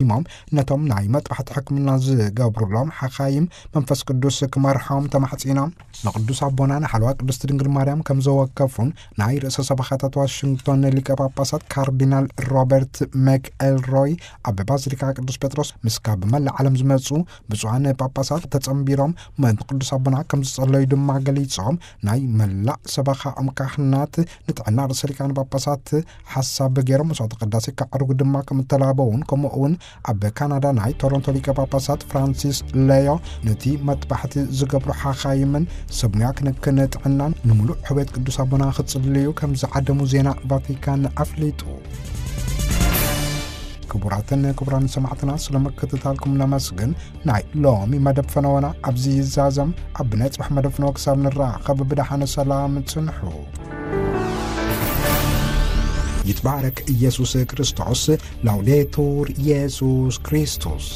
ሞም ነቶም ናይ መጥባሕቲ ሕክምና ዝገብሩሎም ሓኻይም መንፈስ ቅዱስ ክመርሖም ተማሕጺኖም። ንቅዱስ ኣቦና ንሓለዋ ቅድስት ድንግል ማርያም ከም ዘወከፉን ናይ ርእሰ ሰበኻታት ዋሽንግቶን ሊቀ ጳጳሳት ካርዲናል ሮበርት መክ ኤልሮይ ኣብ ባዚሊካ ቅዱስ ጴጥሮስ ምስ ካብ መላእ ዓለም ዝመጹ ብፁዓን ጳጳሳት ተጸንቢሮም ምእንቲ ቅዱስ ኣቦና ከም ዝጸለዩ ድማ ገሊጾም፣ ናይ መላእ ሰበኻኦም ካህናት ንጥዕና ርእሰ ሊቃነ ጳጳሳት ሓሳብ ገይሮም መስዋዕተ ቅዳሴ ከዕርጉ ድማ ከም እተላበውን፣ ከምኡ እውን ኣብ ካናዳ ናይ ቶሮንቶ ሊቀ ጳጳሳት ፍራንሲስ ሌዮ ነቲ መጥባሕቲ ዝገብሩ ሓኻይምን ሰብ ሙያ ክንክን ጥዕናን ንምሉእ ሕውየት ቅዱስ ኣቦና ክጽልዩ ከም ዝዓደሙ ዜና ቫቲካን ኣፍሊጡ። ክቡራትን ክቡራን ሰማዕትና፣ ስለ ምክትታልኩም ነመስግን። ናይ ሎሚ መደብ ፈነወና ኣብዚ ይዛዘም። ኣብ ናይ ጽባሕ መደብ ፈነወ ክሳብ ንራኸብ ብደሓነ ሰላም ጽንሑ። ይትባረክ ኢየሱስ ክርስቶስ። ላውዴቱር ኢየሱስ ክርስቶስ።